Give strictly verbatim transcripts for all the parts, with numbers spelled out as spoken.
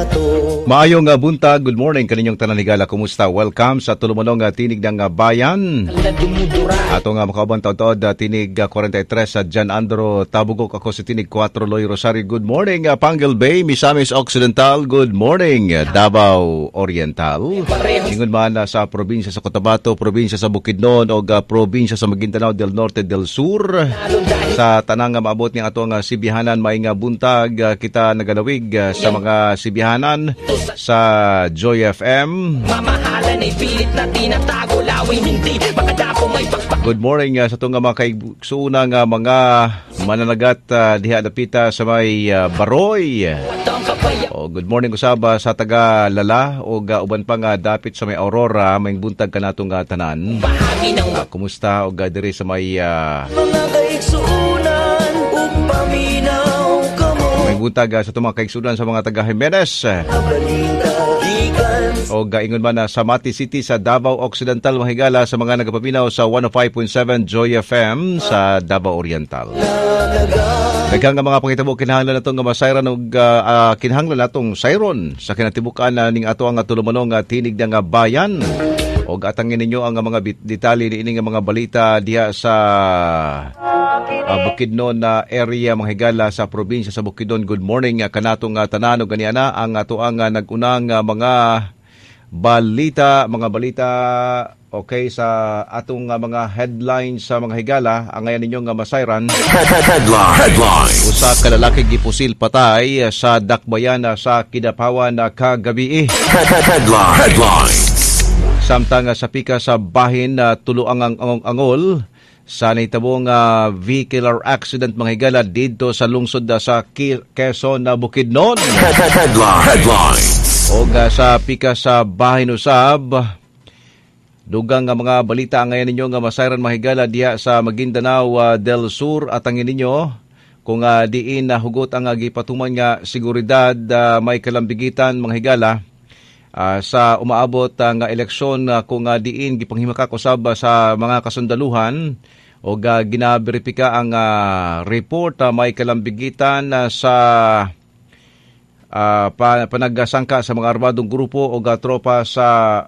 nato. Maayong nga buntag, good morning kaninyong tanan, higala, kumusta? Welcome sa tulumonong nga Tinig ng nga Bayan. Ato nga makauban taod Tinig ah, forty-three sa John Andro Tabugok, ako si Tinig four Loy Rosario. Good morning, ah, Panguil Bay, Misamis Occidental. Good morning, ah, Davao Oriental. Ingon man ah, sa probinsya sa Cotabato, probinsya sa Bukidnon o ah, probinsya sa Maguindanao del Norte del Sur. Sa tanang nga maabot ni ato nga sibihanan, may nga buntag, ah, kita nagalawig ah, sa mga sibihanan sa Joy F M. Mamahalan ay pilit na tinatago. Lawin hindi makadapo, may pakpak. Good morning uh, sa itong mga kaigsuuna nga mga mananagat uh, diha dapita sa may uh, Baroy. At ang kapaya O, good morning usab uh, sa taga Lala o uh, uban pa nga dapit sa may Aurora, may buntag kanatong uh, tanan. Bahagi ng Uh, kumusta og uh, diri sa may uh, Mga kaigsuunan ug paminaw kamo. May buntag uh, sa itong mga kaigsunan sa mga taga Jimenez. Balita gikan O gaingon man na sa Mati City sa Davao Occidental, mahigala sa mga nagapaminaw sa one oh five point seven Joy F M sa Davao Oriental. Daghang nga mga pangitabo kinahanglan natong nga masayran og uh, uh, kinahanglan natong sayron sa kinatibukan na ning ato ang tulumonong nga Tinig nga Bayan. Og atangin ninyo ang mga bit- detalye niini nga mga balita diha sa uh, Bukidnon na area, mga higala, sa probinsya sa Bukidnon. Good morning uh, kanatong uh, tanan ug ganiana ang ato ang uh, nag-unang uh, mga balita, mga balita, okay, sa atong uh, mga headlines sa mga higala ang ngayon ninyo nga masayran. Headline. Headline. Usa ka lalaki gipusil patay sa Dakbayan sa Kidapawan kagabi. Headline. Headlines. Samtang sa pika sa bahin na tulo ang ang angol sa nahitabong uh, vehicular accident, mga higala, didto sa lungsod uh, sa Quezon na Bukidnon. Headline. Headlines. Og uh, sa pika sa bahin usab, dugang nga mga balita ang ngayon ninyo nga masayran, mahigala, diha sa Maguindanao uh, del Sur at ang ninyo kung uh, diin na hugot ang uh, gipatuman nga seguridad uh, may kalambigitan, mga higala, uh, sa umaabot uh, nga eleksyon uh, kung uh, diin gipanghimakak usab uh, sa mga kasundaluhan o uh, ginaberipika ang uh, report uh, may kalambigitan uh, sa uh, pa, panagsangka sa mga armadong grupo o uh, tropa sa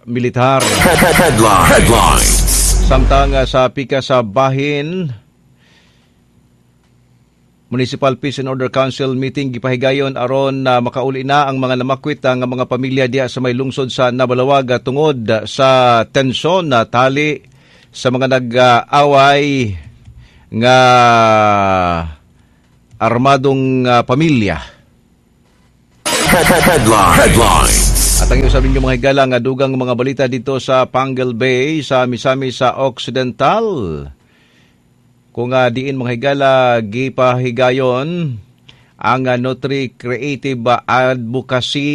militar. Headline. Headlines. Samtang uh, sa pika sa bahin, Municipal Peace and Order Council meeting gipahigayon aron na makauli na ang mga namakwit nga mga pamilya diha sa may lungsod sa Nabalawag tungod sa tensyon na tali sa mga nag-away nga armadong uh, pamilya. Headline. Headlines. At ang usab ninyo, mga higala, nga dugang mga balita dito sa Panguil Bay sa Misamis sa Occidental. Kung uh, diin, mga higala, gipahigayon ang uh, Nutri Creative Advocacy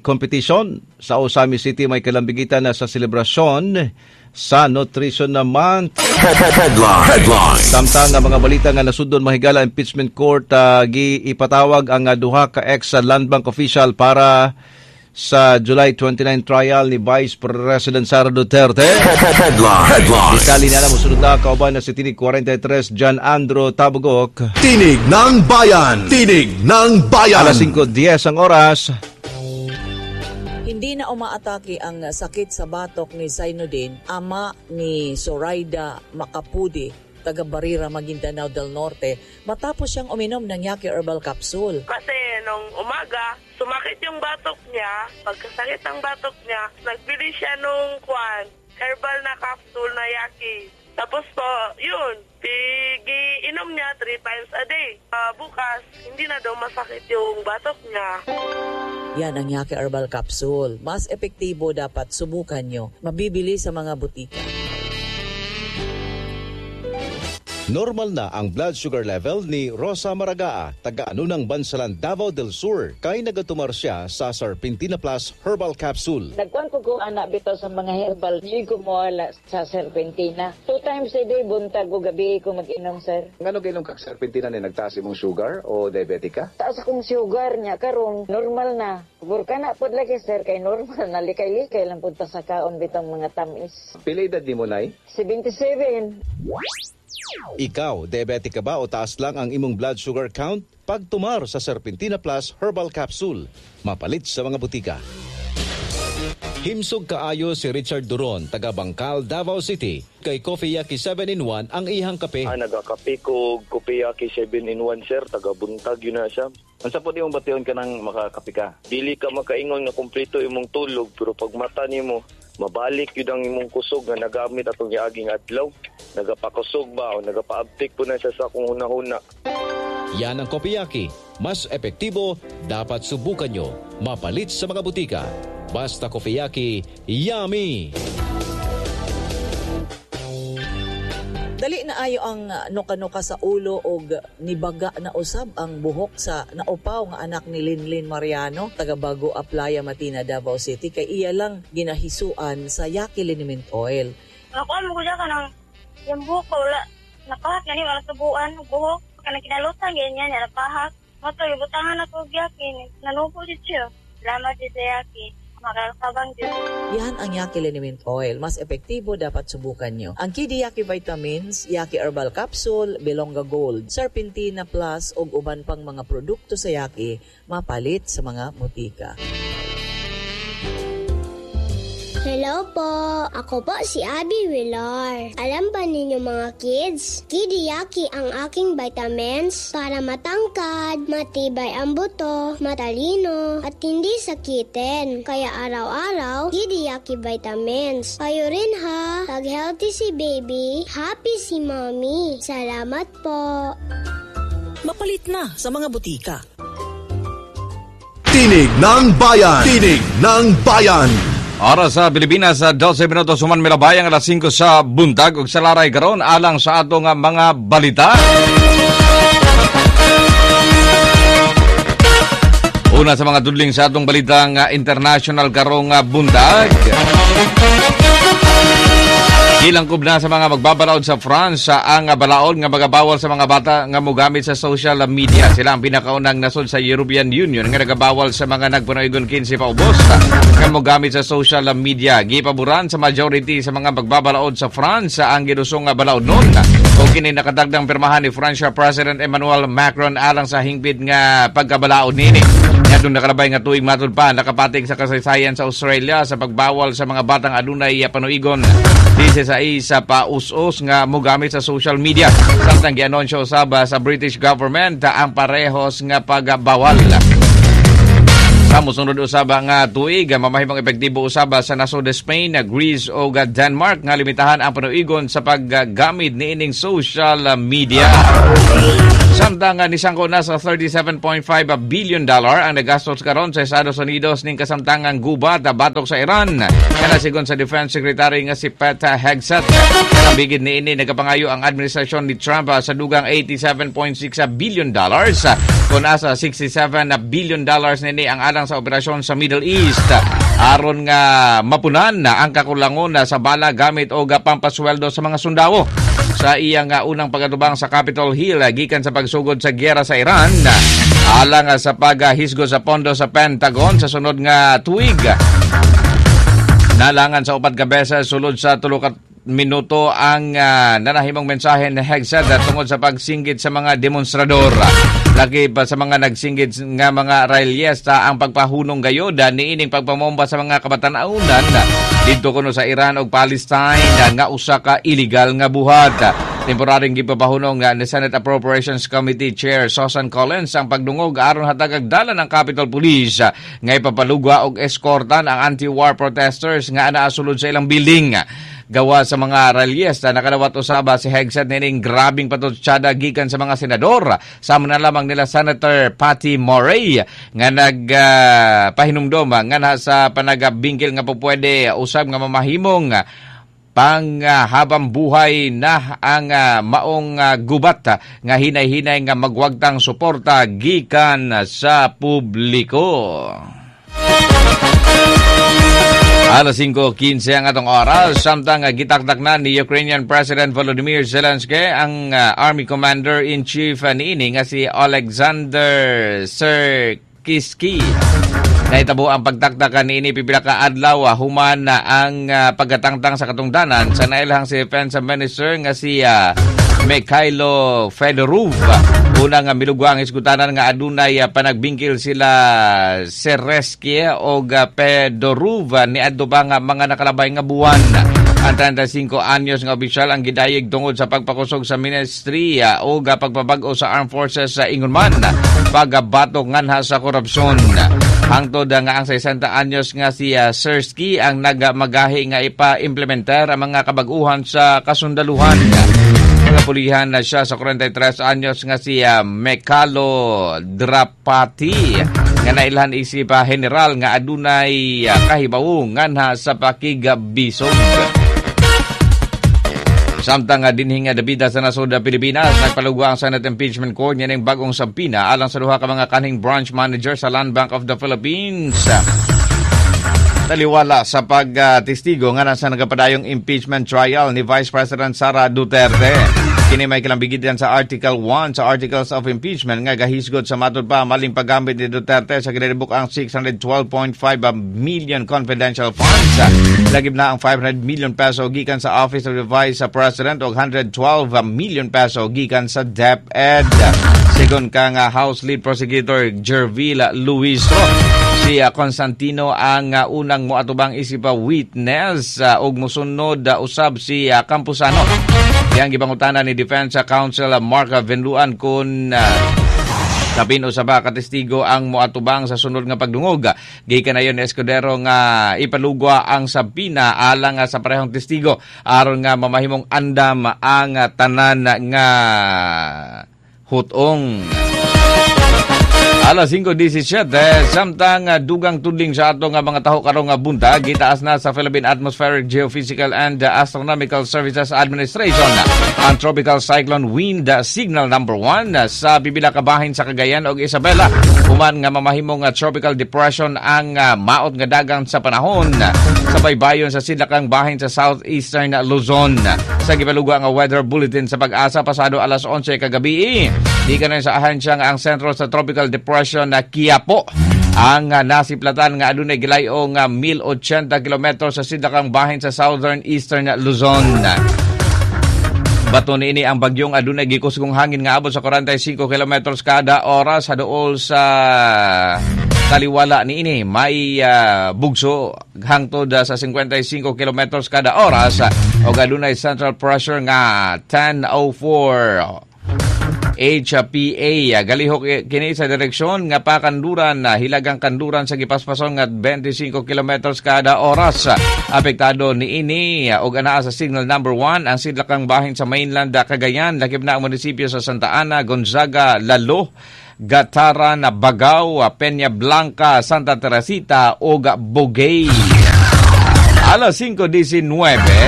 Competition sa Ozamiz City may kalambigitan na sa selebrasyon sa Nutrition na Month. Headline. Headline. Samtang ang mga balita nga nasudon, mahigala, impeachment court uh, giipatawag ang uh, duha ka ex Land Bank official para sa July twenty-nine trial ni Vice President Sara Duterte. Headline. Headline. Detalye na musunod na kauban na si Tinig forty-three John Andro Tabugok. Tinig ng Bayan. Tinig ng Bayan. Alas singko diyes ang oras. Hindi na umaatake ang sakit sa batok ni Zainuddin, ama ni Zoraida Macapudi, taga Barira, Maguindanao del Norte, matapos siyang uminom ng Yaki Herbal Capsule. Kasi nung umaga, sumakit yung batok niya. Pagkasakit ng batok niya, nagbili siya nung kwan, herbal na capsule na Yaki. Tapos po, yun, inom niya three times a day. Ah, bukas, hindi na daw masakit yung batok niya. Yan ang Yaki Herbal Capsule. Mas epektibo, dapat subukan nyo. Mabibili sa mga butika. Normal na ang blood sugar level ni Rosa Maragaa, taga Anunang Bansalan, Davao del Sur. Kay nagatumar siya sa Serpentina Plus Herbal Capsule. Nagkuan ko ko anak bitaw sa mga herbal, di ko mawala sa serpentina. Two times a day, buntag o gabi ko mag-inom, sir. Ngano ginom kag serpentina ni nagtaas imong sugar o diabetic ka? Taas akong sugar niya, karon normal na. Burka na pod lagi, sir, kay normal na. Likay-likay lang punta sa kaon bitang mga tamis. Pila edad nimo, nay? seventy-seven. Ikaw, diabetic ka ba o taas lang ang imong blood sugar count? Pagtumar sa Serpentina Plus Herbal Capsule. Mapalit sa mga butika. Himsog kaayo si Richard Duron, taga Bangkal, Davao City. Kay Coffee Yaki seven in one ang ihang kape. Ah, nagakape ko Coffee Yaki seven in one, sir. Taga buntag yun na siya. Unsa po di mong bation ka nang makakape ka? Dili ka makaingon nga kumpleto imong tulog, pero pag mata nimo, mabalik yun ang imong kusog nga nagamit atong giaging adlaw. Nagapakusog ba o nagapaabtik po na siya sa akong hunahuna. Yan ang Coffee Yaki. Mas epektibo, dapat subukan nyo. Mapalit sa mga butika. Basta Coffee Yaki, yummy! Dali na ayo ang nuka-nuka sa ulo og nibaga na usab ang buhok sa naupaw nga anak ni Linlin Mariano, taga Bago Aplaya, Matina, Davao City, kay iya lang ginahisuan sa Yaki Liniment Oil. Ako mo ko ka nang yung buhok ko wala napahak gani wala subuan buhok kanang kinalutan ganyan niya napahak. Mato ibutangan ako og Yaki, nanubo jud siya. Salamat jud sa Yaki. Makakabang din. Yan ang Yaki Liniment Oil. Mas epektibo, dapat subukan nyo. Ang Kidi Yaki Vitamins, Yaki Herbal Capsule, Belonga Gold, Serpentina Plus ug uban pang mga produkto sa Yaki mapalit sa mga butika. Hello po! Ako po si Abby Villar. Alam ba ninyo mga kids? Kidi Yaki ang aking vitamins para matangkad, matibay ang buto, matalino, at hindi sakitin. Kaya araw-araw, Kidi Yaki vitamins. Kayo rin ha! Pag healthy si baby, happy si mommy. Salamat po! Mapalit na sa mga butika. Tinig ng Bayan! Tinig ng Bayan! Oras sa Pilipinas sa dose minutos human milabayang alas singko sa buntag ug sa laray karon alang sa atong mga balita. Una sa mga tudling sa atong balitang international karong buntag. Gilangkob na sa mga magbabalaod sa France ang balaod nga magabawal sa mga bata nga mogamit sa social media. Sila ang pinakaunang nasod sa European Union nga nagabawal sa mga nagpunoygon kinse paubos nga mogamit sa social media. Gipaboran sa majority sa mga magbabalaod sa France ang ginusong balaod nun. O kini nakadagdang pirmahan ni French President Emmanuel Macron alang sa hingpit nga pagkabalaod nini. Ngadtong nakalabay nga tuig matud pa nakapatig sa kasaysayan sa Australia sa pagbawal sa mga batang adunay panuigon sa isa pa us-us nga mogamit sa social media. Samtang gianunsyo usab sa British government ang parehos nga pagbawal. Sa mosunod usab nga tuig, mamahimong epektibo usab sa nasod Spain, Greece o Denmark nga limitahan ang panuigon sa paggamit niining social media. Samtang nisangko na sa thirty-seven point five billion dollar ang nagastos karon sa Estados Unidos ning kasamtangang gubat batok sa Iran. Kana sigon sa Defense Secretary nga si Pete Hegseth. Bigid niini nagapangayo ang administrasyon ni Trump sa dugang eighty-seven point six billion dollars kun asa sixty-seven billion dollars nini ang alang sa operasyon sa Middle East aron nga mapunan na ang kakulangon sa bala gamit og pampasweldo sa mga sundao. Sa iyang unang pagatubang sa Capitol Hill gikan sa pagsugod sa giyera sa Iran alang sa paghisgo sa pondo sa Pentagon sa sunod nga tuig. Nalangan sa upat ka beses sulod sa tulo ka minuto ang uh, nanahimong mensahe ni Hegseth tungod sa pagsinggit sa mga demonstrador. Lagi pa sa mga nagsinggit nga mga rallyesta ang pagpahunong gayod niining pagpamomba sa mga kabataan-aunan didto kuno sa Iran ug Palestine nga usa ka illegal nga buhat. Temporaring gipapahunong ni Senate Appropriations Committee Chair Susan Collins ang pagdungog aron hatagag dala ng Capitol Police nga ipapalugwa og eskortan ang anti-war protesters nga anaa sulod sa ilang building. Gawa sa mga rallyesta nakadawat usaba si Hegseth nining grabing patutsada gikan sa mga senador. Sama na lamang nila Senator Patty Murray nga nagpahinumdom uh, nga na sa panagabingkil nga pupwede usab nga mamahimong panghabang uh, buhay na ang uh, maong uh, gubat uh, nga hinay-hinay nga magwagtang suporta gikan sa publiko. Alas singko kinse ang atong oras, samtang uh, gitaktak na ni Ukrainian President Volodymyr Zelensky ang uh, Army Commander-in-Chief uh, niini nga si Alexander Sirkiski. Naitabo ang pagtaktak niini pipila ka adlaw human na ang uh, pagkatangtang sa katungdanan sa nailhang si Defense Minister nga si uh, Mykhailo Fedorov. Una nga milugwa ang hisgutanan nga adunay panagbingkil sila Syrsky og Fedorov niadto pa nga mga nakalabay nga buwan. Ang trentay singko anyos nga opisyal ang gidayeg tungod sa pagpakusog sa ministriya o pagpabag-o sa armed forces sa ingon man pagbatok nganha sa korupsyon. Hangtod nga ang sesenta anyos nga si uh, Syrsky ang nagmagahi nga ipa-implementar ang mga kabag-uhan sa kasundaluhan. Napulihan na siya sa kwarenta y tres anyos nga si uh, Mykhailo Drapatyi nga nailhan isip uh, general nga adunay uh, kahibawo nganha sa pakigbisog. Samtang nga dinhi nga dapita sa nasod Pilipinas, nagpalugwa ang Senate Impeachment Court niining bagong subpoena alang sa duha ka mga kanhing branch manager sa Land Bank of the Philippines. Taliwala sa pagtestigo nga nasa nagapadayong impeachment trial ni Vice President Sara Duterte. Kini may kalambigitan sa Article one sa Articles of Impeachment nga gahisgot sa matud pa maling paggamit ni Duterte sa ginalibok ang six hundred twelve point five million confidential funds. Lagib na ang five hundred million peso gikan sa Office of the Vice President o one hundred twelve million peso gikan sa DepEd. Sigon kang House Lead Prosecutor Gerville Luistro, si uh, Constantino ang uh, unang moatubang isip uh, witness uh, ug mosunod uh, usab si uh, Campusano. Yang gipangutana ni Defense Counsel Mark Vinluan kung uh, kapin usa ba ka testigo ang moatubang sa sunod nga pagdungog. Gikan na ni Escudero nga ipalugwa ang subpoena alang sa parehong testigo aron nga mamahimong andam ang tanan nga hutong. Alas singko disisiete, samtang dugang tudling sa ato nga mga taho karong nga buntag, gitaas na sa Philippine Atmospheric, Geophysical and Astronomical Services Administration ang Tropical Cyclone Wind Signal number one sa pipila ka bahin sa Cagayan ug Isabela. Human nga mamahimong tropical depression ang maot nga dagang sa panahon sa baybayon sa sidlakang bahin sa southeastern Luzon. Sa gipalugwa nga weather bulletin sa Pag-asa pasado alas onse kagabi, gikan sa ahensya nga ang sentro sa tropical depression na Kiyapo ang uh, nasiplatan nga adunay gilayo nga one thousand eighty kilometro sa sidlakang bahin sa southern eastern Luzon. Bato niini ang bagyong adunay gikusgong hangin nga abot sa kwarenta y singko kilometros kada oras. Sa duol sa taliwala niini, may uh, bugso hangtod uh, sa singkwenta y singko kilometros kada oras o adunay central pressure nga ten oh four H P A. Galihok kini sa direksyon nga pakanduran, hilagang kanduran sa gipaspason nga twenty-five kilometros kada oras. Apektado niini og anaa sa signal number one ang sidlakang bahin sa mainland Cagayan, lakip na ang munisipyo sa Santa Ana, Gonzaga, Lalo, Gattaran, Baggao, Peña Blanca, Santa Teresita ug Buguey. Alas singko disiniwebe,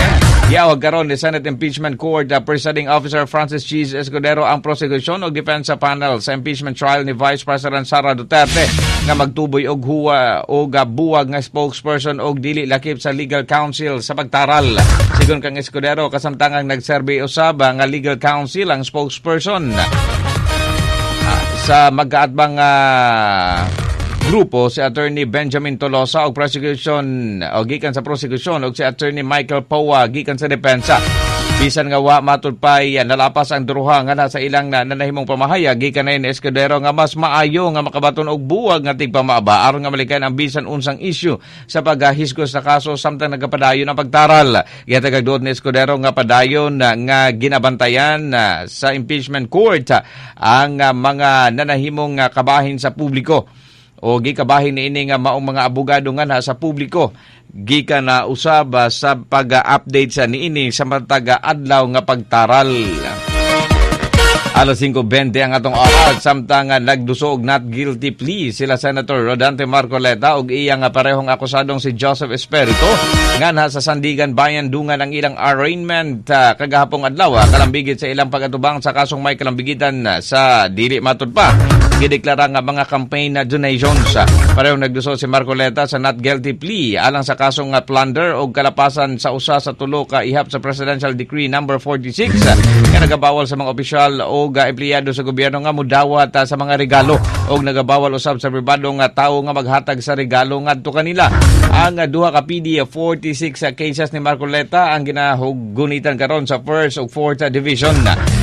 giyawag karon ni Senate Impeachment Court uh, Presiding Officer Francis Chiz Escudero ang prosecution ug defense panel sa impeachment trial ni Vice President Sara Duterte nga magtuboy og huwa og buwag nga spokesperson og dili lakip sa legal counsel sa pagtaral. Sigon kang Escudero, kasamtangang nagserbi usab nga legal counsel ang spokesperson sa magkaatbang uh, grupo, si Attorney Benjamin Tolosa og prosecution o gikan sa prosecution og si Attorney Michael Poa gikan sa depensa. Bisan nga wa matud pay nalapas ang duruha nga sa ilang na nanahimong pamahayag, gikan na Escudero nga mas maayo nga makabaton og buwag nga tigpamaaba aron nga malikayan ang bisan unsang issue sa paghisgos sa kaso samtang nagapadayon ang pagtaral. Gihatag duot ni Escudero nga padayon nga ginabantayan sa impeachment court ang mga nanahimong kabahin sa publiko o gikabahin niini nga maong mga abogado nga na sa publiko gikan na usab sa pag-update sa niini sa matag adlaw nga pagtaral. Alas singko bente ang atong oras, samtang nagduso og not guilty plea sila Senator Rodante Marcoleta ug iyang parehong akusadong si Joseph Espiritu nganha sa Sandiganbayan dungan ang ilang arraignment uh, kagahapong adlaw, kalambigit sa ilang pagatubang sa kasong may kalambigitan sa dili matud pa gideklara nga mga campaign na donations. Parehong nagduso si Marcoleta sa not guilty plea alang sa kasong plunder o kalapasan sa usa sa tulo ka ihap sa Presidential Decree number forty-six nga nagabawal sa mga opisyal o empleyado sa gobyerno nga mudawat sa mga regalo o nagabawal usab sa pribado nga tawo nga maghatag sa regalo ngadto kanila. Ang duha ka P D forty-six cases ni Marcoleta ang ginahugunitan karon sa first ug fourth division.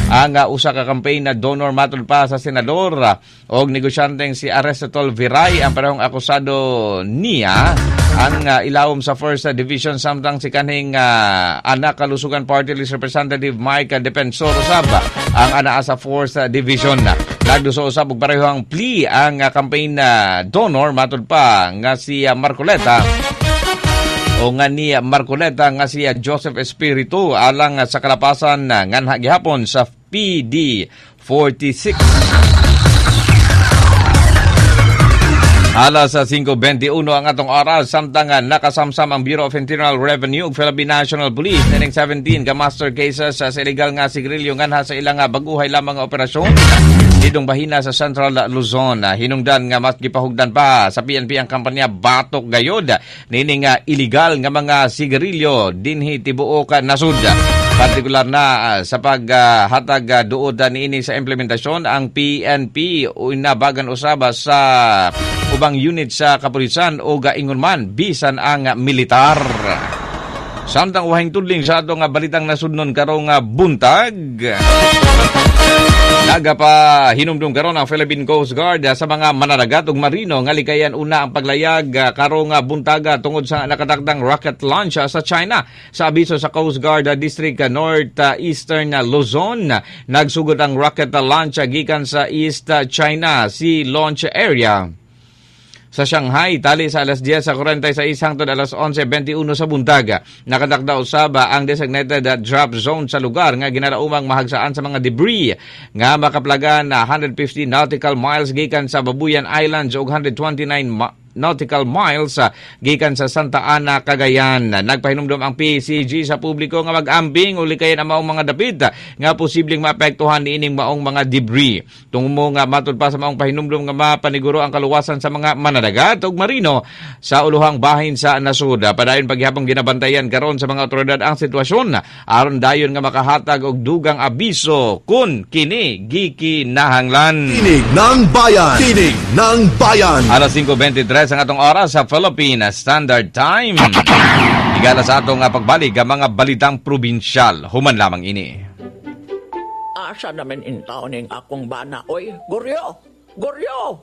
Ang uh, usa ka campaign na donor matud pa sa senador uh, og negosyanteng si Aristotle Viray ang parehong akusado niya ang uh, ilawom sa First Division, samtang si kanhing uh, Anak Kalusugan Party List Representative Mike Defensor usab ang anaa sa Fourth Division. Nagduso usab og pareho ang plea ang uh, campaign uh, donor matud pa nga si uh, Marcoleta o nga ni Marcoleta nga si Joseph Espiritu alang sa kalapasan nganha gihapon sa P D forty-six. Alas singko beintiuno ang atong oras, samtang nakasamsam ang Bureau of Internal Revenue ug Philippine National Police nining seventeen ka master cases sa illegal nga sigarilyo nganha sa ilang baguhay lamang nga operasyon didong bahina sa Central Luzon. Hinungdan nga mas gipahugdan pa sa P N P ang kampanya Batok Gayod nining illegal nga mga sigarilyo dinhi tibuok nasud. Partikular na uh, sa paghatag uh, duod uh, niini sa implementasyon ang P N P inabagan usaba sa ubang unit sa kapulisan o gaingon man bisan ang militar. Samtang wahing tudling sa atong balitang nasudnon karong buntag, nagapa hinumdum karon ang Philippine Coast Guard sa mga mananagat ug marino nga likayan una ang paglayag karong buntaga tungod sa nakatakdang rocket launch sa China. Sa abiso sa Coast Guard District North Eastern Luzon, nagsugod ang rocket launch gikan sa East China Sea Launch Area sa Shanghai, tali sa alas diyes kuwarenta y sais hangtod alas onse beintiuno sa buntag. Nakatakda usab ang designated drop zone sa lugar nga ginalaumang mahagsaan sa mga debris nga makaplagan na one hundred fifty nautical miles gikan sa Babuyan Islands ug one hundred twenty-nine ma- nautical miles gikan sa Santa Ana, Cagayan. Nagpahinumdom ang P C G sa publiko nga mag-ambing o likayan ang maong mga dapit nga posibleng maapektuhan niining maong mga debris. Tungo nga matud pa sa maong pahinumdom nga mapaniguro ang kaluwasan sa mga manadagat ug marino sa uluhang bahin sa nasud. Padayon paghihapong ginabantayan karon sa mga otoridad ang sitwasyon aron dayon nga makahatag og dugang abiso kun kini gikinahanglan. Tinig ng Bayan. Tinig ng Bayan. Alas singko beintitres ang atong oras sa Philippine Standard Time. Higala sa atong pagbalik ang mga balitang probinsyal. Human lamang ini. Asa namin intaon ning akong bana. Oy, Goryo! Goryo!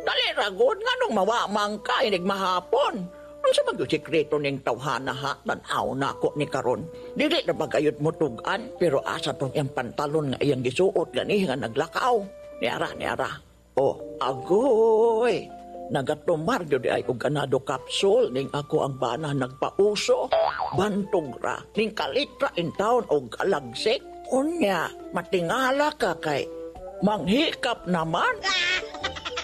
Dali ragod nga nung mawamang ka, inig mahapon. Unsa man gyud sikreto ning tawhana ha, tan-aw na ako ni karon. Dili na bagayod mo tugan, pero asa tong iyang pantalon nga iyang gisuot gani nga naglakaw. Niara, niara. Oh, agoy! Nagatumar gyud ay og ganado capsule ning ako ang bana nagpauso. Bantog ra ning kalitra in town og alagsik. Unya matingala ka kay manghikap naman.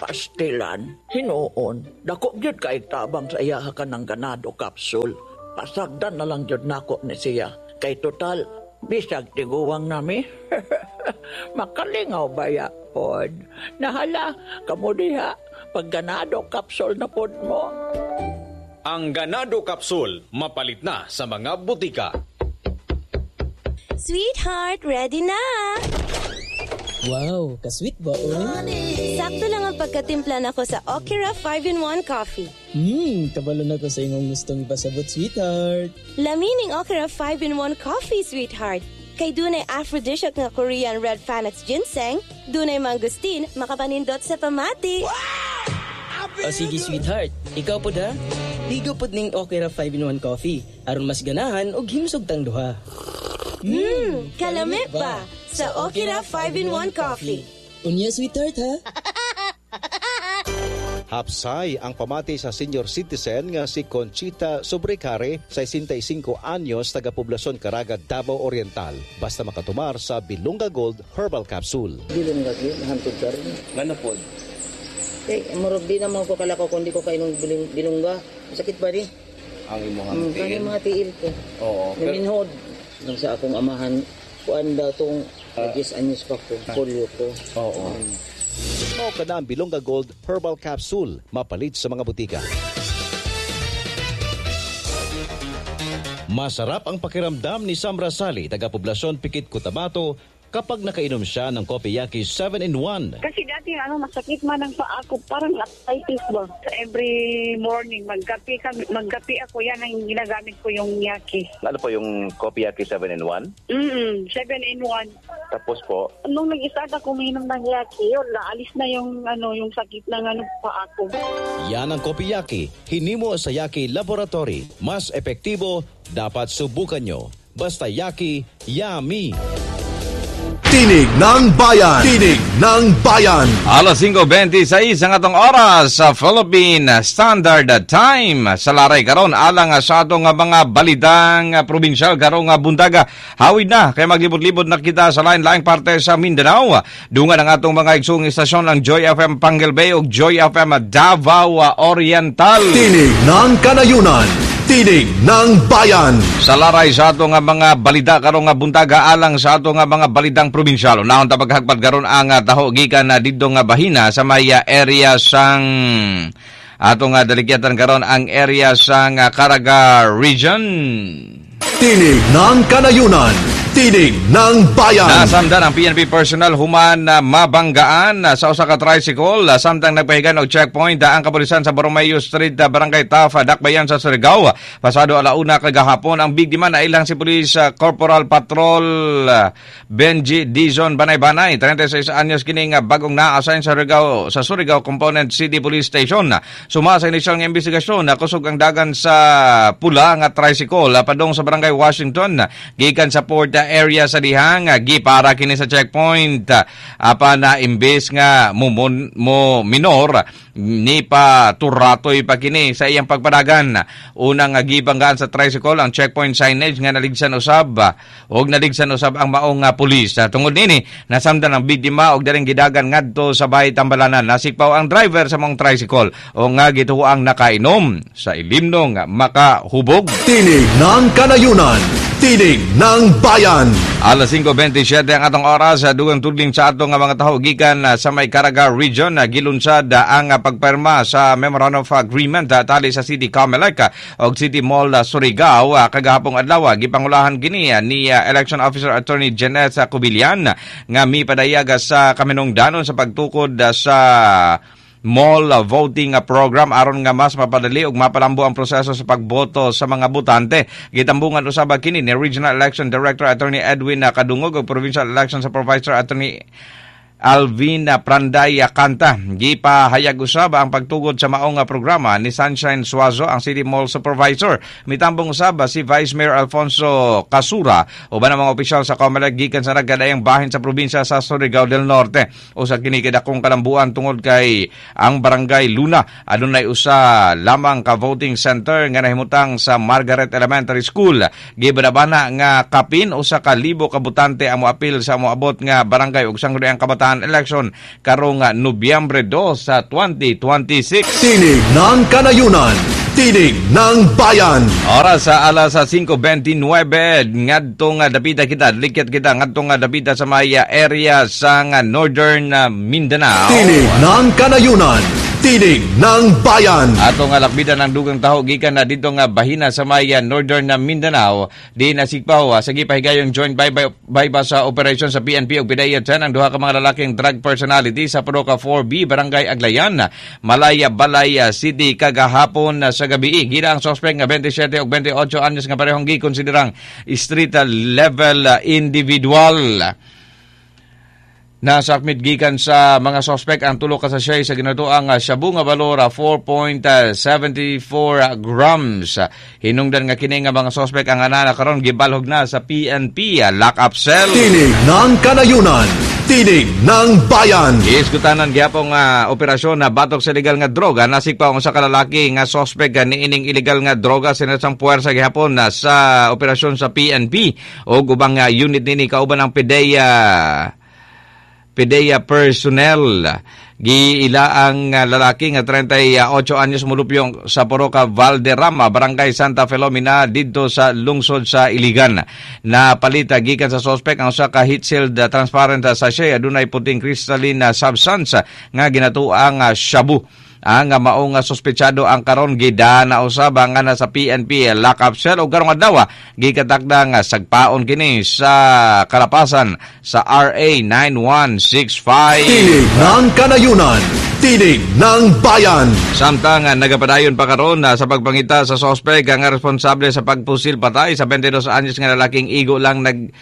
Pastilan hinuon dako gyud kay tabang sa iyaha ka ng ganado capsule. Pasagdan na lang gyud nako ni siya kay total bisag tiguwang nami. Makalingaw baya pod. Nahala kamo diha pag ganado capsule na pod mo. Ang Ganado Capsule, mapalit na sa mga butika. Sweetheart, ready na! Wow, kasweet ba, oy? Sakto lang ang pagkatimpla nako sa Okira five in one Coffee. Hmm, kabalo na ko sa imong gustong ipasabot, sweetheart. Lamining Okira five in one Coffee, sweetheart. Kay dunay aphrodisiac nga Korean Red Panax ginseng, dunay mangosteen, makapanindot sa pamati. O sige, sweetheart, ikaw po da? Ligo pod ning Okira five in one Coffee, aron mas ganahan og himsog tang duha. Mmm, kalami pa sa Okira five in one Coffee. Unya, sweetheart, ha? Hapsay ang pamati sa senior citizen nga si Conchita Sobrecare, sesenta y cinco anyos, taga-poblasyon Caraga, Davao Oriental. Basta makatumar sa Bilonga Gold Herbal Capsule. Dili nga kay hantod karon. Ngano pod? Eh, murag di naman ko kalakaw kung di ko kainom bilongga. Sakit ba di? Ang imong mm, tiil? Ang mga tiil ko. Oo. Naminhod. Nang sa akong amahan, kuan daw tong uh, diyes anyos pa ko, polio ko. Oo. Um, Mao ka na ang Bilonga Gold Herbal Capsule, mapalit sa mga butika. Masarap ang pakiramdam ni Sam Rasali, taga-poblasyon Pikit, Cotabato, kapag nakainom siya ng Kopiyaki seven in one. Kasi dati ano, masakit man ang paa ko, parang arthritis ba? Every morning, magkape, kami, magkape ako, yan ang ginagamit ko yung Yaki. Ano po yung Kopiyaki seven in one? Mm, seven in one. Tapos po? Nung nag-start ako uminom ng Yaki, yun, naalis na yung, ano, yung sakit ng ano, paa ko. Yan ang Kopiyaki, hinimo sa Yaki Laboratory. Mas epektibo, dapat subukan nyo. Basta Yaki, yummy! Tinig ng Bayan! Tinig ng Bayan! Alas singko beinte sais ang atong oras sa Philippine Standard Time. Sa laray karon alang sa atong mga balitang probinsyal karong buntaga. Hawid na kay maglibot-libot na kita sa lain-laing parte sa Mindanao. Dungan ang atong mga igsoong istasyon ang Joy F M Panguil Bay ug Joy F M Davao Oriental. Tinig ng Kanayunan. Tinig ng Bayan. Sa laray sa atong mga balita karong buntaga alang sa atong mga balitang probinsyal. Unahon ta paghagpad karon ang taho gikan na didto nga bahina sa may area sang atong daligyatan karon ang area sang Caraga Region. Tinig ng Kanayunan. Tinig ng Bayan. Nasamdan ang P N P personnel human na mabanggaan sa usa ka tricycle samtang nagpahigan og checkpoint ang kapulisan sa Borromeo Street, Barangay Tafa, Dakbayan sa Surigao. Pasado alauna kagahapon ang biktima na ilang si Police Corporal Patrol Benji Dizon Banay-Banay, trenta y seis anyos kining bagong na-assign sa Surigao, sa Surigao Component City Police Station. Suma sa inisyal nga investigasyon, kusog ang dagan sa pula nga tricycle padung sa Barangay Washington gikan sa Port area sa dihang gipara kini sa checkpoint apan na imbes nga mo, mo minor ni pa turatoy pa kini sa iyang pagpadagan. Unang gibanggaan sa tricycle ang checkpoint signage nga naligsan usab og naligsan usab ang maong pulis. Tungod nini nasamdan ang biktima og daling gidagan ngadto sa bahay Tambalanan. Nasikpaw ang driver sa maong tricycle o nga gituang nakainom sa ilimnong makahubog. Tinig ng Kanayunan. Tinig ng Bayan. Alas singko beinte siyete ang atong oras. Dugang tudling sa atong mga taho gikan sa may Caraga Region, gilunsad ang pagperma sa Memorandum of Agreement tali sa City Comelec og City Mall Surigao kagahapong adlaw. Gipangulahan kini ni Election Officer Attorney Jeanette Cubillan nga mipadayag sa kaminungdanon sa pagtukod sa mall voting program aron nga mas mapadali ug mapalambo ang proseso sa pagboto sa mga botante. Gitambungan usab kini ni Regional Election Director Attorney Edwin Kadungog ug Provincial Election Supervisor Attorney Alvin Pranday Kanta. Gipahayag usab ang pagtugod sa maong programa ni Sunshine Suazo, ang City Mall Supervisor. Mitambong usab si Vice Mayor Alfonso Casura uban ang mga opisyal sa Comelec gikan sa nagkadayang bahin sa probinsya sa Surigao del Norte. Usa kini kadakong kalambuan tungod kay ang Barangay Luna adunay usa lamang ka voting center nga nahimutang sa Margaret Elementary School. Gibanabana nga kapin usa ka libo ka botante ang moapil sa moabot nga barangay ug sangguniang kabataan election karong Nobyembre two sa twenty twenty-six. Tinig ng Kanayunan, Tinig ng Bayan. Oras sa alas singko beinte nuwebe ngadto nga dapita kita, likyat kita ngadto nga dapita sa may area sa Northern Mindanao. Tinig ng Kanayunan, Tinig ng Bayan. Ato nga lakbitan ang dugang taho gikan na dito nga bahina sa may Northern Mindanao di nasigpaw sa gipahigayong joint bypass sa operation sa P N P ug P D I A ten ang duha ka mga lalaking drug personality sa Poroka four B Barangay Aglayan, Malaya, Balay City kagahapon sa gabi. Gila ang suspect nga twenty-seven ug twenty-eight anyos nga parehong gikonsiderang street level individual. Nasakmit gikan sa mga suspect ang tulo ka sachet sa ginatuang shabu nga balor four point seven four grams. Hinungdan nga kini nga mga suspect ang anana karon gibalhog na sa P N P lock-up cell. Tinig ng Kanayunan, Tinig ng Bayan. Giiskutanan gihapon nga uh, operasyon na batok sa illegal nga droga. Nasikpaw ang usa ka lalaki nga suspect niining illegal nga droga sinasang puwersa gihapon na sa operasyon sa P N P o ubang uh, unit nini kauban ang P D E A P D E A personnel. Giila ang lalaki nga trenta y ocho anyos mulupyong sa Poroka Valderrama, Barangay Santa Filomena didto sa lungsod sa Iligan. Napalita gikan sa suspect ang usa ka heat-sealed transparent sachet adunay puting crystalline substance nga ginatuang shabu. Ang mao nga sospetsado ang karon gidana usab nga nasa P N P lockup cell ug karong adlaw gikatakda nga sagpaon kini sa kalapasan sa R A nine one six five. Tinig ng Kanayunan, Tinig ng Bayan. Samtang nagapadayon pa karon sa pagpangita sa sospek nga responsable sa pagpusil patay sa twenty-two anyos nga lalaking igo lang nag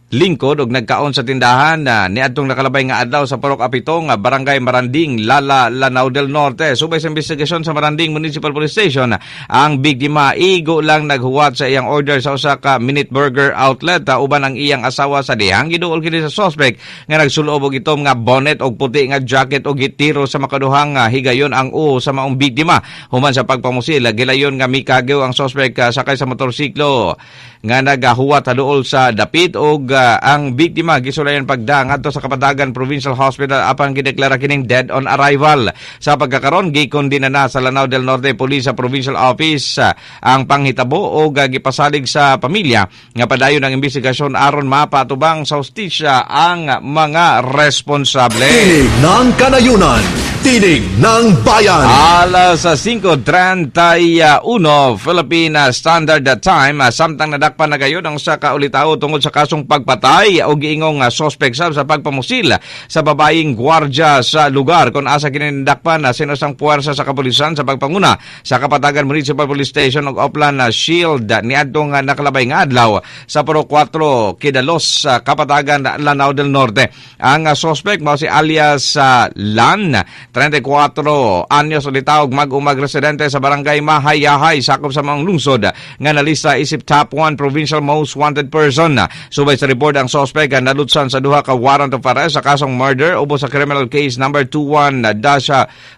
lingkod og nagkaon sa tindahan na niadtong nakalabay nga adlaw sa Purok Apitong, Barangay Maranding, Lala, Lanao del Norte. Subay sa investigasyon sa Maranding Municipal Police Station, ang biktima igo lang naghuwat sa iyang order sa usa ka Minute Burger outlet uh, uban ang iyang asawa sa dihang giduol kini sa suspect nga nagsulob og itom nga bonnet og puti nga jacket og gitiro sa makaduhang uh, higayon ang uo sa maong biktima. Human sa pagpamusil, gilayon nga mikagew ang suspect uh, sakay sa motorsiklo nga nagahuwat haduol sa dapit og uh, ang biktima gisulayan pagda ngadto sa Kapatagan Provincial Hospital apan gideklara kining dead on arrival. Sa pagkakaron, gikondena na sa Lanao del Norte Police sa Provincial Office uh, ang panghitabo og uh, gipasalig sa pamilya nga padayon ang investigasyon aron mapatubang sa hustisya ang mga responsable. Tinig ng Kanayunan, Tinig ng Bayan. Alas singko trenta y uno Philippine Standard Time, samtang nadakpan na gayon ang usa ka ulitawo tungod sa kasong pagpatay o giingong suspect sab sa pagpamusil sa babaeng gwardya sa lugar kung asa kini nadakpan na sinusang puwersa sa kapulisan sa pagpanguna sa Kapatagan Municipal Police Station ug Oplan Shield niadtong nakalabay nga adlaw sa Purok kwatro Kidalos sa Kapatagan, Lanao del Norte. Ang suspect mao si alias Lan, trenta y kwatro anyos, ulitawog mag-umag residente sa Barangay Mahayahay, sakop sa maong lungsod, nga nalista isip top one provincial most wanted person. Subay sa report, ang suspect nalutsan sa duha ka warrant of arrest sa kasong murder ubos sa criminal case number twenty-one dash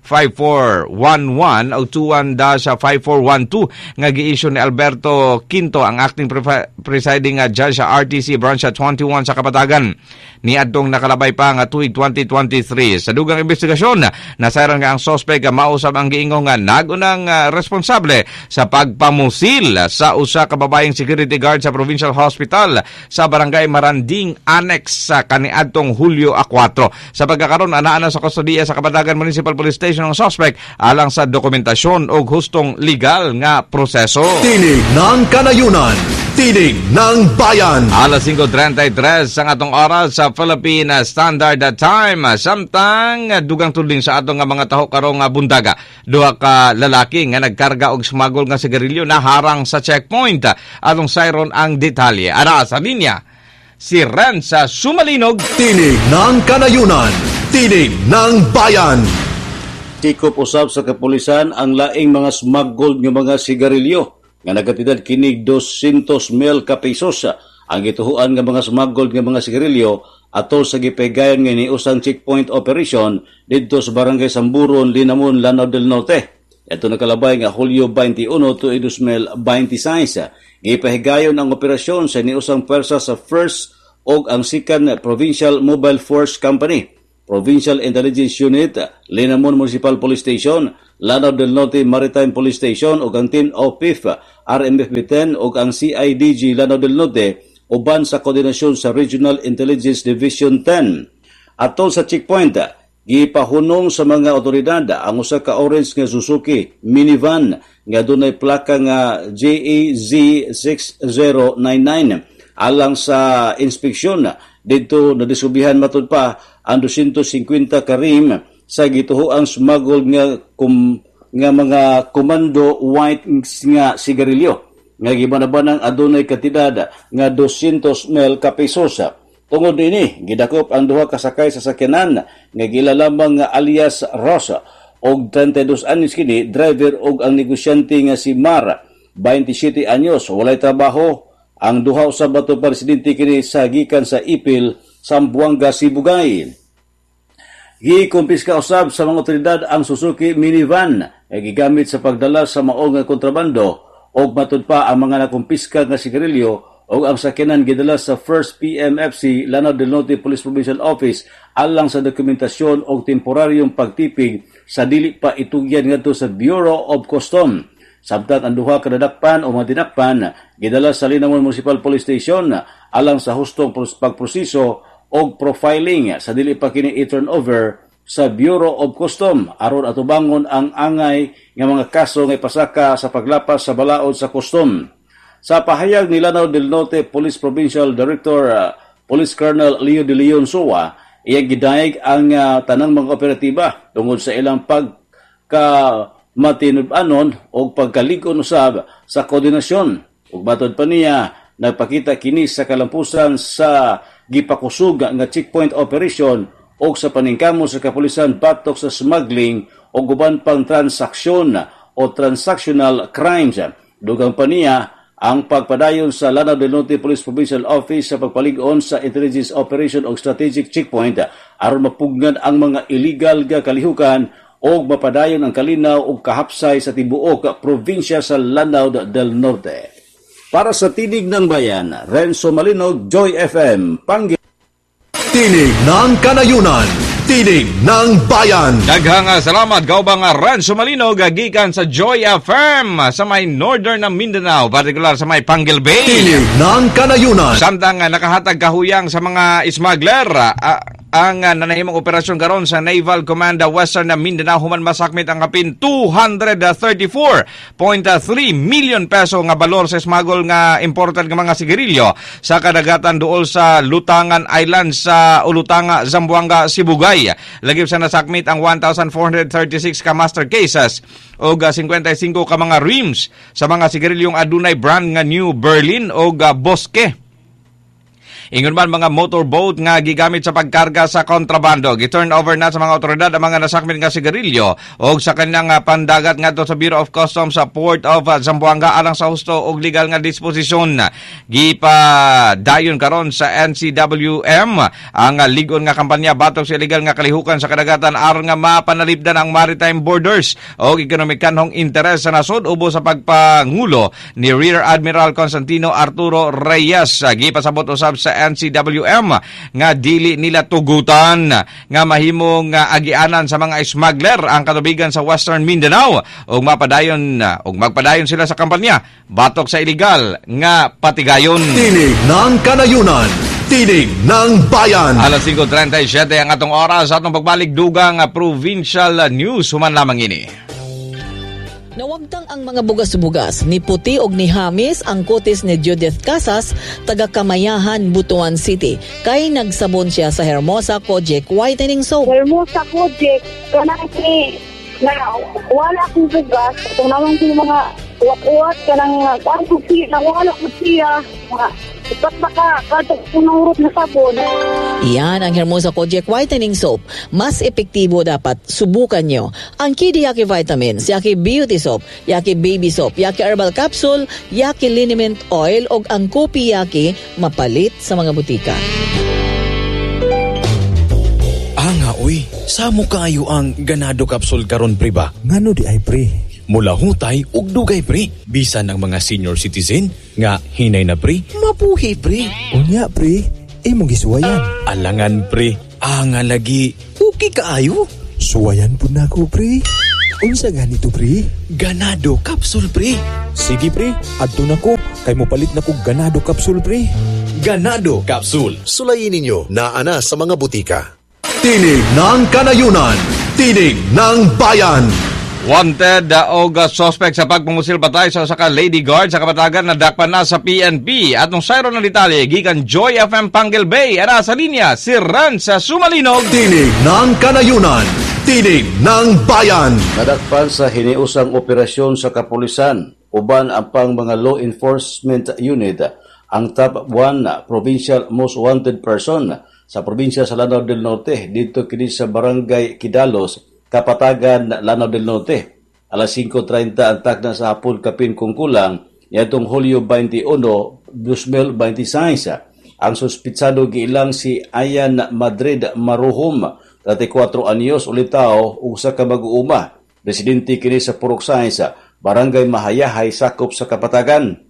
five four one one o twenty-one dash five four one two nga gi-issue ni Alberto Quinto, ang acting presiding judge sa R T C Branch twenty-one sa Kapatagan niadtong nakalabay pa nga tuig twenty twenty-three. Sa dugang investigasyon, nasayran nga ang suspect mausab ang giingong nga nagunang uh, responsable sa pagpamusil sa usa ka babaeng security guard sa Provincial Hospital sa Barangay Maranding Annex sa kaniadtong Hulyo kwatro. Sa pagkakaroon, anaa na sa kustodiya sa Kapatagan Municipal Police Station ang suspect alang sa dokumentasyon o hustong legal nga proseso. Tinig ng Kanayunan, Tinig ng Bayan. Alas singko trenta y tres ang atong oras sa Philippine Standard Time. Samtang dugang tudling sa atong nga mga taho karong buntaga. Duha ka lalaki nga nagkarga og smuggle nga sigarilyo na harang sa checkpoint. Atong sayron ang detalye. Ara sa linya si Renza Sumalinog. Tinig ng Kanayunan, Tinig ng Bayan. Tikop usab sa kapulisan ang laing mga smuggled nga mga sigarilyo nga nagkatidad kinig dosyentos mil ka pesos. Ang gituhuan nga mga smuggled nga mga sigarilyo atol sa gipegayon nga niusang checkpoint operation didto sa Barangay Samburon, Linamon, Lanao del Norte. Ito nakalabay nga Hulyo twenty-one tuig twenty twenty-six. Gipahigayon ang operasyon sa niusang pwersa sa First og ang Second Provincial Mobile Force Company, Provincial Intelligence Unit, Linamon Municipal Police Station, Lanao del Norte Maritime Police Station ug ang Team O P I F, R M F B ten ug ang C I D G Lanao del Norte uban sa koordinasyon sa Regional Intelligence Division ten. Atol sa checkpoint, gipahunong sa mga otoridad ang usa ka orange nga Suzuki minivan nga dunay plaka nga J A Z six zero nine nine. Alang sa inspeksyon didto, nadiskubrihan matud pa ang dosyentos singkwenta ka ream sa gituhoang smuggled nga kum, nga mga Commando White nga sigarilyo nga gibanabanang adunay kantidad nga dosyentos mil ka pesos. Tungod niini, gidakop ang duha ka sakay sa sakyanan nga giila lamang nga alias Rosa og trenta y dos anyos kini driver og ang negosyante nga si Mar, twenty-seven anyos, walay trabaho. Ang duha usab ato presidente kini sa gikan sa Ipil, Zamboanga, Sibugay. Gikumpiska usab sa mga otoridad ang Suzuki minivan nga gigamit sa pagdala sa maong kontrabando og matud pa ang mga nakumpiska nga sigarilyo og ang sakyanan gidala sa First P M F C Lanao del Norte Police Provincial Office alang sa dokumentasyon og temporaryong pagtipig sa dili pa itugyan ngadto sa Bureau of Custom. Samtang ang duha ka nadakpan o mga dinakpan gidala sa Linamon Municipal Police Station alang sa hustong pagproseso og profiling sa dili pa kini i-turn over sa Bureau of Custom aron atubangon ang angay nga mga kaso nga ipasaka sa paglapas sa balaod sa custom. Sa pahayag ni Lanao del Norte Police Provincial Director uh, Police Colonel Leo de Leon Soa, iyang gidayeg ang uh, tanang mga operatiba tungod sa ilang pagka matinud-anon o pagkalig-on usab sa koordinasyon. Ug matod pa niya, nagpakita kini sa kalampusan sa gipakusog nga checkpoint operation o sa paningkamot sa kapulisan batok sa smuggling o uban pang transaksyon o transactional crimes. Dugang pa niya ang pagpadayon sa Lanao del Norte Police Provincial Office sa pagpalig-on sa intelligence operation o strategic checkpoint aron mapugnan ang mga illegal nga kalihukan o mapadayon ang kalinaw o kahapsay sa tibuok probinsya sa Lanao del Norte. Para sa Tinig ng Bayan, Renzo Malinog, Joy F M, Pangi. Tinig ng Kanayunan, Tinig ng Bayan. Daghang salamat kaubang Renzo Malinog gikan sa Joy F M sa may northern ng Mindanao, partikular sa may Panguil Bay. Tinig ng Kanayunan. Samtang nakahatag kahuyang sa mga smuggler, uh, ang uh, nanahimong operasyon karon sa Naval Command Western Mindanao human masakmit ang kapin two hundred thirty-four point three million peso nga balor sa smuggle nga imported nga mga sigarilyo sa kadagatan duol sa Lutangan Island sa Ulutanga, Zamboanga, Sibugay. Lagip sa nasakmit ang one thousand four hundred thirty-six ka master cases og fifty-five ka mga rims sa mga sigarilyong adunay brand nga New Berlin og Bosque. Ingon man mga motorboat nga gigamit sa pagkarga sa kontrabando. Gi-turn over na sa mga otoridad ang mga nasakmit nga sigarilyo og sa kanilang pandagat ngadto sa Bureau of Customs sa Port of Zamboanga alang sa husto og legal nga disposisyon. Gipadayon karon sa N C W M ang lig-on nga kampanya batok sa illegal nga kalihukan sa kadagatan aron nga mapanalipdan ang maritime borders og ekonomikanhong interes sa nasod ubo sa pagpangulo ni Rear Admiral Constantino Arturo Reyes. Gipasabot usab sa N C W M nga dili nila tugutan nga mahimong agianan sa mga smuggler ang katubigan sa Western Mindanao ug mapadayon ug magpadayon sila sa kampanya batok sa illegal nga patigayon. Tinig ng Kanayunan, Tinig ng Bayan. Alas singko trenta y siyete ang atong oras, atong pagbalik dugang provincial news human lamang ini. Nawagtang ang mga bugas-bugas ni Puti og ni Hamis ang kutis ni Judith Casas, taga Kamayahan, Butuan City. Kay nagsabon siya sa Hermosa Kojic Whitening Soap. Hermosa Kojic, kanang ni na wala akong bugas, itong naman yung mga uwat-uwat, kanang kuan ko siya, nawala ko siya, mga ipat baka, kadto unang urot na sabon. Iyan ang Hermosa Kojic Whitening Soap. Mas epektibo dapat subukan nyo. Ang Kidi Yaki Vitamins, Yaki Beauty Soap, Yaki Baby Soap, Yaki Herbal Capsule, Yaki Liniment Oil o ang Kopi Yaki mapalit sa mga butika. Anga, uy, samo kayo ang Ganado Capsule karon pre ba? Ngano di ay pre? Mula hutay ug dugay pre. Bisan ang mga senior citizen nga hinay na pre, mapuhi pre. Unya pre, imong gisuwayan. Alangan pre, anga lagi, okay kaayo. Suwayan pud nako pre. Unsa ganito pre? Ganado Capsule pre. Sige pre, adto nako kay mopalit nako Ganado Capsule pre. Ganado Capsule. Sulayin ninyo naa na sa mga butika. Tinig ng Kanayunan, Tinig ng Bayan. Wanted uh, og uh, suspect sa pagpangusil patay sa usa ka lady guard sa Kapatagan na dakpan na sa P N P. At nung sayro ng detalye, gikan Joy F M Panguil Bay, ara sa linya si Renzo Sumalinog. Tinig ng Kanayunan, Tinig ng Bayan. Nadakpan sa hiniusang operasyon sa kapulisan uban ang pang mga law enforcement unit ang top one provincial most wanted person sa probinsya sa Lanao del Norte dito kini sa Barangay Kidalos, Kapatagan, Lanao del Norte. Alas singko trenta ang takna sa hapon kapin kung kulang niadtong Hulyo twenty-one, dos mil twenty-six. Ang suspitsado giilang si Ayan Madrid Maruhom, thirty-four anyos, ulitaw ug usa ka mag-uuma. Residente kini sa Purok Sais, Barangay Mahayahay, sakop sa Kapatagan.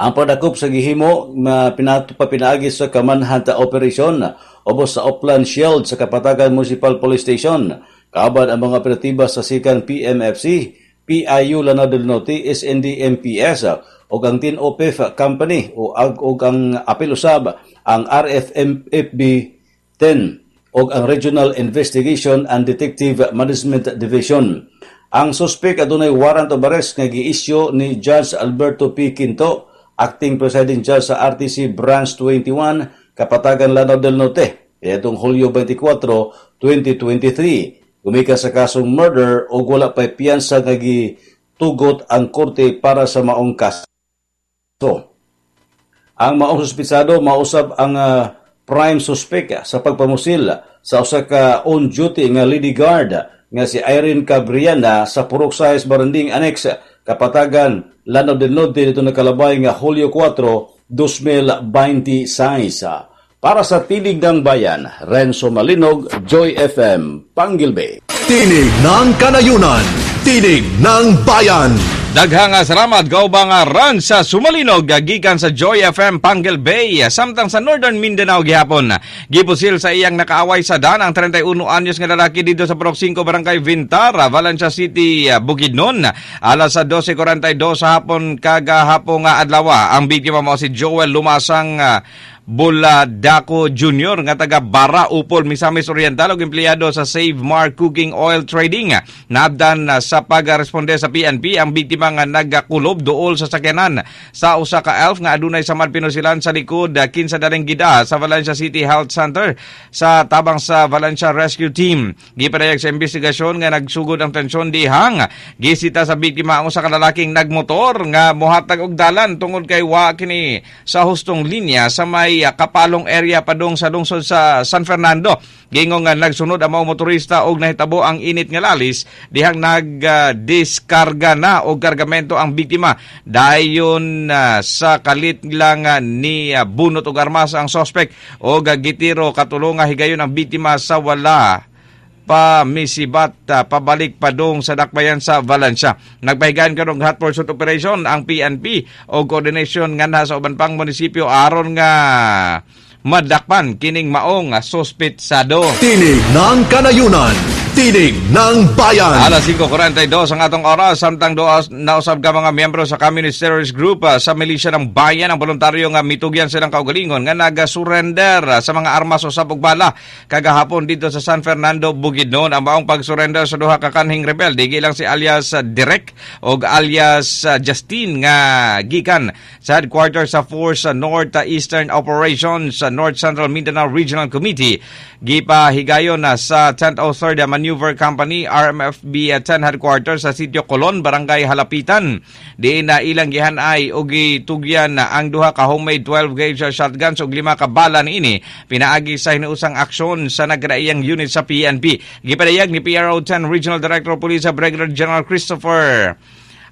Ang padakop sa gihimo na pinatupa pinaagi sa Kamanhanta Operation ubos sa Oplan Shield sa Kapatagan Municipal Police Station. Kauban ang mga operatiba sa sikan P M F C, P I U Lanao del Norte, S N D M P S ug ang Tin O P F Company o ag og ang apil usab ang R F M F B ten. ug ang Regional Investigation and Detective Management Division. Ang suspect adunay warrant of arrest nga gi-issue ni Judge Alberto P. Quinto, acting presiding judge sa R T C Branch twenty-one, Kapatagan, Lanao del Norte, itong Hulyo twenty-four, twenty twenty-three. Gumikan sa kasong murder o wala pa'y piyansa nga gitugot ang korte para sa maong kaso. Ang maong suspitsado mausab ang uh, prime suspect sa pagpamusil sa usa ka on duty nga lady guard nga si Irene Cabriana sa Purok Sais, Baranding Annex, Kapatagan, Lanao del Norte dito nakalabay nga Hulyo four, twenty twenty-six. Para sa Tinig ng Bayan, Renzo Malinog, Joy F M, Panguil Bay. Tinig ng Kanayunan, Tinig ng Bayan. Daghang salamat kaubang Renzo Sumalinog gikan sa Joy F M Panguil Bay. Samtang sa Northern Mindanao gihapon, gipusil sa iyang nakaaway sa dan ang trenta'y uno anyos nga lalaki dito sa Purok singko, Barangay Vintara, Valencia City, Bukidnon. Alas sa dose kwarenta y dos sa hapon kagahapon nga adlaw. Ang biktima mao si Joel Lumasang Buladako Junior nga taga Bara, Upol, Misamis Oriental ug empleyado sa Save Mar Cooking Oil Trading. Naabdan sa pagresponde sa P N P ang biktima nga nagakulob duol sa sakyanan sa usa ka Elf nga adunay samad pinusilan sa likod kinsa daling gida sa Valencia City Health Center sa tabang sa Valencia Rescue Team. Gipadayag sa investigasyon nga nagsugod ang tensyon dihang gisita sa biktima ang usa ka lalaking nagmotor nga mohatag og dalan tungod kay wa kini sa hustong linya sa may Kapalong area padung sa lungsod sa San Fernando. Gingon nga nagsunod ang mga motorista og nahitabo ang init nga lalis dihang nagdiskarga na og kargamento ang biktima. Dayon uh, sa kalit lang uh, ni uh, bunot og armas ang suspect og uh, gitiro katulo nga higayon ang biktima sa wala pa misibat uh, pabalik padung sa dakbayan sa Valencia. Nagpahigayon karon hot pursuit operation ang P N P o coordination nganha sa uban pang munisipyo aron nga madakpan kining maong suspitsado. Tinig ng Kanayunan, Tinig ng Bayan. Alas singko kwarenta y dos ang atong oras, samtang doas nausab ka mga miyembro sa Communist Terrorist Group uh, sa milisya ng bayan ang voluntaryo nga mitugyan silang kaugalingon nga naga-surrender uh, sa mga armas o sabog bala kagahapon dito sa San Fernando, Bukidnon. Ang maong pag-surrender sa duha ka kanhing rebelde gilang si alias uh, Direk og alias uh, Justin nga gikan sa headquarters sa Force uh, North Eastern Operations sa North Central Mindanao Regional Committee. Gipahigayon na sa ten oh third Maneuver Company R M F B ten headquarters sa Sitio Colon, Barangay Halapitan. Diin na ilang gihanay og gitugyan na ang duha ka homemade twelve gauge shotguns ug lima ka bala niini pinaagi sa hinuusang aksyon sa nagkadaiyang unit sa P N P. Gipadayag ni P R O ten Regional Director of Police Brigadier General Christopher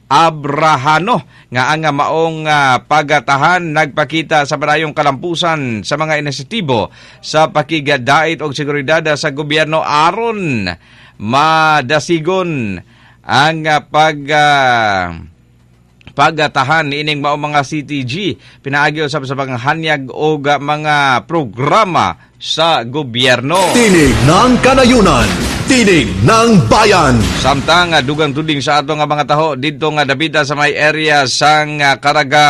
Abrahano nga ang maong uh, pagatahan nagpakita sa padayong kalampusan sa mga inisyatibo sa pakigadait og seguridad sa gobyerno aron madasigon ang uh, pag uh, pagatahan ining mao mga C T G pinaagi usab sa panghanyag og mga programa sa gobyerno. Tinig ng Kanayunan, Tinig ng Bayan. Samtang dugang tuding sa ato nga mga taho didto nga dabida sa may area sang Caraga.